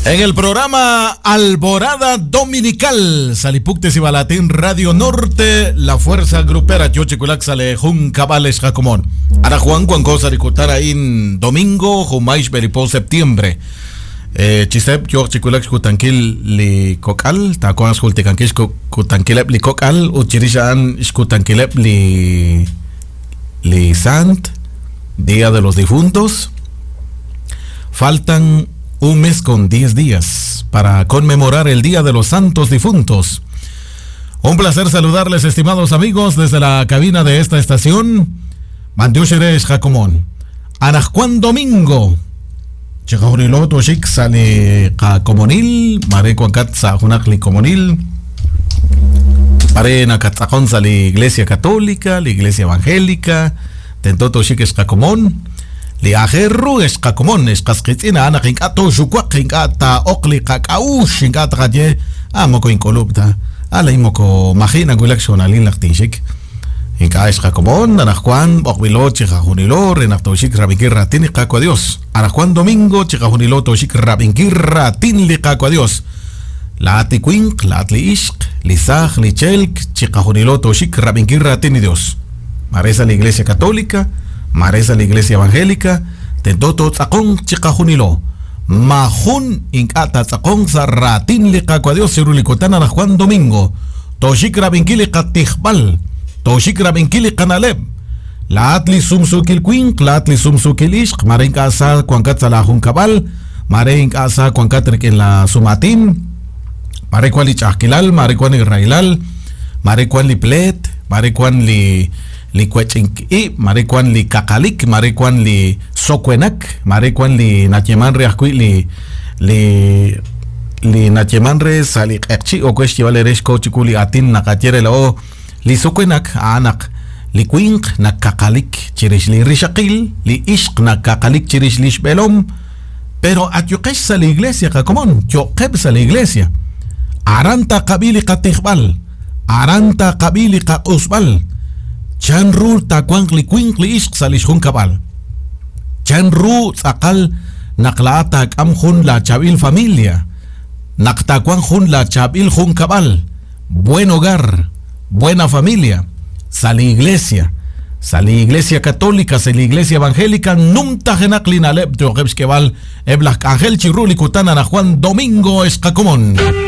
En el programa Alborada Dominical, Salipuktes y Balatín Radio Norte, la fuerza grupera Yochiculak sale Juncabales Jacomón. Ara Juan Juan Cosa in domingo, Jumaish Beripo septiembre. Chisep, yo chikulak xkutankil li kokal, takuan xkultikankil xkutankileb li kokal, uchirishan xkutankileb li li sant, Día de los Difuntos. Faltan un mes con 10 días para conmemorar el Día de los Santos Difuntos. Un placer saludarles, estimados amigos, desde la cabina de esta estación. Mandiusheresh Jacomón. Anajcuan Domingo. Chijahunilo toshik sale comonil. Mare cuancat sa junakli comonil. Mare nakatzakon sa la Iglesia Católica, la Iglesia Evangélica. Tentoto shik escacomón. Li ajerru escacomón, escasquitzina, ana rinkato, xucuac, rinkata, ocli, cacaush, rinkata, calle, amoko incolupta, ala imoko, majina, gulak, xonalin, lactinshik. Inka escacomón, anajuan, ocvilo, chijajunilo, renactoshik, rabinkir, ratin, caco a Dios. Anajuan domingo, chijajunilo, toshik, rabinkir, ratin, li caco a Dios. La aticuinc, la atliishk, lisaj, lichelk, chijajunilo, toshik, rabinkir, ratin, y Dios. Mareza la Iglesia Católica, Mareza la Iglesia Evangélica, tentoto tzakon chikajunilo. Majun inkata tzakon zarratin liqakua Dios sirulikutana na Juan Domingo. Toshik rabinkili katijbal. Toshik rabinkili kanaleb. La atli sumsukil quink, la atli sumsukil ishq, marenka asa kuankatza la junkabal, marenka asa kuankatrik en la sumatin, marekuan li chajkilal, marekuan li railal, marekuan li plet, marekuan li li kuechinki, marekuan li kakalik, marekuan li sokuenak, marekuan li nacheman re ajkui li li li nacheman re sali q'eqchi o kuex chival erex ko chikuli atin nakatiere la o li sokuenak anak li kuinq nakakalik chirix li rixaqil li ixq nakakalik chirix li xb'elom, pero atyuqex sa la iglesia qakomon yoqeb sa la iglesia aranta qabili qatijb'al aranta qabili qaq'usb'al chan ru takuanq li kuinq li ixq sa lix junkab'al chan ru tz'aqal naq la'a taak'am jun la chab'il familia naq takuan jun la chab'il junkab'al buen hogar, buena familia, sa la iglesia, sa la iglesia católica, sa la iglesia evangélica, nunta jenak linaleb teoqeb xkeb'al eb laj k'anjel chi ru li kutan ana Juan Domingo Escacomón.